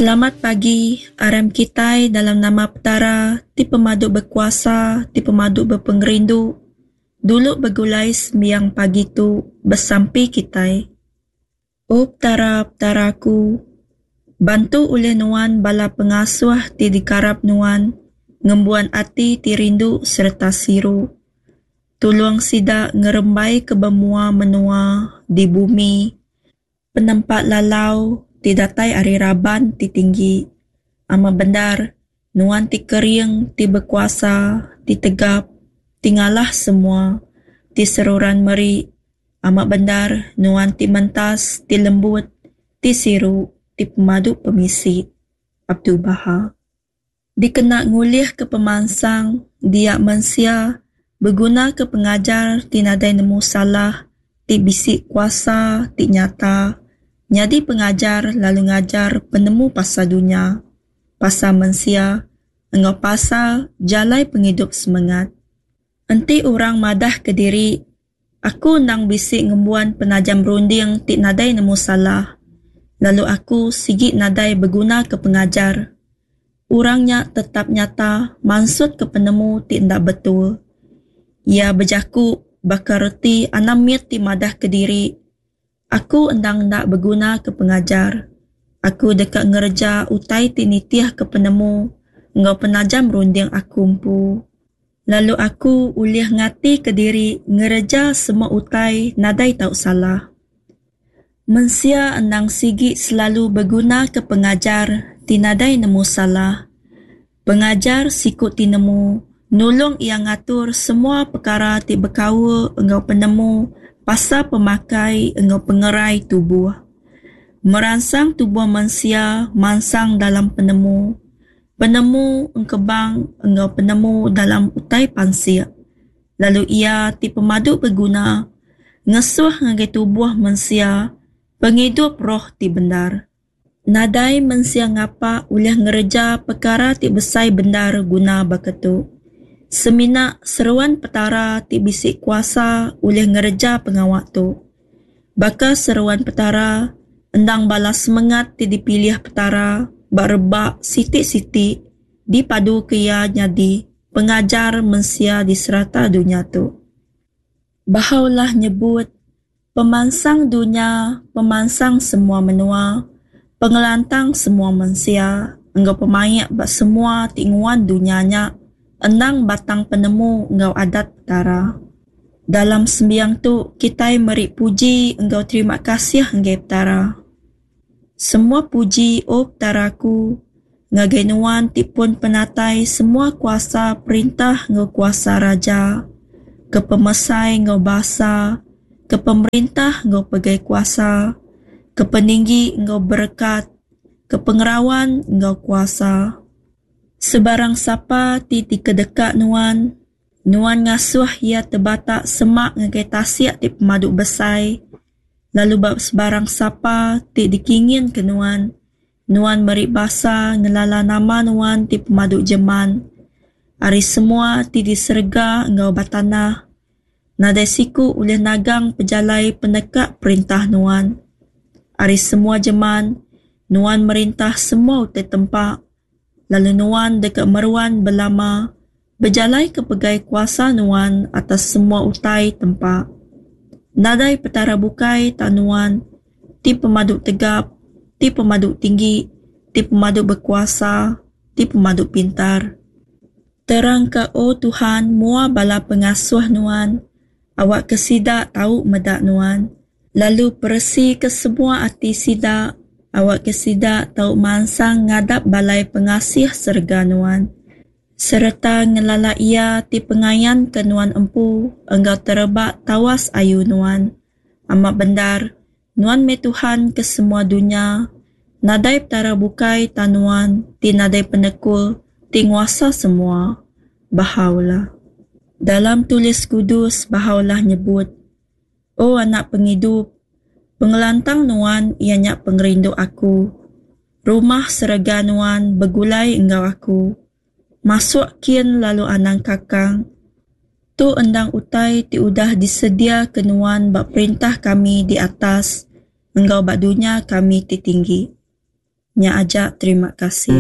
Selamat pagi, aram kitai dalam nama Petara ti pemadu bekuasa, ti pemadu bepengerindu, dulu begulai sembiang pagi tu besampi kitai. O Petara, Petara aku, bantu ulih Nuan bala pengasuh ti dikarap Nuan ngembuan ati ti rindu sereta siru. Tulung sida ngerembaika ba mua menua di bumi Penempa lalau ti datai ari raban ti tinggi. Amat bendar, Nuan ti kering, ti bekuasa, ti tegap, ti ngalah semua, ti seruran meri. Amat bendar, Nuan ti mentas, ti lembut, ti siru, ti pemadu pemisi. Abdu'l-Bahá. Dikena ngulihka pemansang dia mensia begunaka pengajar ti nadai nemu salah ti bisi kuasa ti nyata nyadi pengajar lalu ngajar penemu pasal dunya, pasal mensia enggau pasal jalai pengidup semengat. Enti orang madahka diri Aku endang bisi ngembuan penajam runding ti nadai nemu salah, lalu aku sigi nadai begunaka pengajar. Orang nya tetap nyata mansutka penemu ti enda betul. Iya bejaku baka reti anak mit ti madahka diri, Aku endang enda begunaka pengajar. Aku deka ngereja utai ti nitihka penemu enggau penajam runding aku empu. Lalu aku ulih ngatika diri ngereja semua utai nadai tau salah. Mensia endang sigi selalu begunaka pengajar ti nadai nemu salah. Pengajar siku ti nemu nulung iya ngatur semua pekara ti bekaul enggau penemu pasal pemakai enggau pengerai tubuh. Meransang tubuh mensia mansang dalam penemu. Penemu engkebang enggau penemu dalam utai pansik, lalu iya ti pemadu beguna ngesuh ngagai tubuh mensia pengidup roh ti bendar. Nadai mensia ngapa ulih ngereja pekara ti besai bendar guna baka tu. Semina seruan Petara ti bisi kuasa ulih ngereja pengawa tu. Baka seruan Petara, endang bala semengat ti dipilih Petara ba rebak siti-siti dipaduka Iya nyadi pengajar mensia di serata dunya tu. Baha'u'llah nyebut, Pemansang dunya, pemansang semua menua, pengelantang semua mensia enggau pemaik ba semua ti nguan dunya nya endang batang penemu enggau adat Petara. Dalam sembiang tu kitai meri puji enggau terima kasih enggai Petara. Semua puji O Petara aku, ngagai Nuan ti pun penatai semua kuasa perintah enggau kuasa raja, ke pemesai enggau basa, ke pemerintah enggau pegai kuasa, ke peninggi enggau berekat, ke pengerawan enggau kuasa. Sebarang sapa ti dikedeka Nuan, Nuan ngasuh iya tebatak semak ngagai tasik ti pemadu besai, lalu ba sebarang sapa ti dikinginka Nuan, Nuan meri basa ngelala nama Nuan ti pemadu jeman. Ari semua ti di serega enggau ba tanah, nadai siku ulih nagang pejalai peneka perintah Nuan. Ari semua jeman, Nuan merintah semua utai tempa, lalu Nuan deka meruan belama bejalaika pegai kuasa Nuan atas semua utai tempa. Nadai petara bukai tang Nuan, ti pemadu tegap, ti pemadu tinggi, ti pemadu bekuasa, ti pemadu pintar. Terangka, O Tuhan, mua bala pengasuh Nuan, awakka sida tau meda Nuan. Lalu peresika semua ati sida, awakka sida tau mansang ngadap balai pengasih serega Nuan, sereta ngelala Iya ti pengayanka Nuan empu enggau tereba tawas ayu Nuan. Amat bendar, Nuan meh Tuhan ke semua dunya, nadai petara bukai tang Nuan ti nadai penekul ti nguasa semua. Baha'u'llah. Dalam Tulis Kudus, Baha'u'llah nyebut, O anak pengidup, pengelantang nuan iya nya pengerindu aku. Rumah serega nuan begulai enggau aku. Masuk kin lalu anang kakang. Tu endang utai ti udah disediaka nuan ba perintah kami di atas enggau ba dunya kami ti tinggi. Nya aja terima kasih.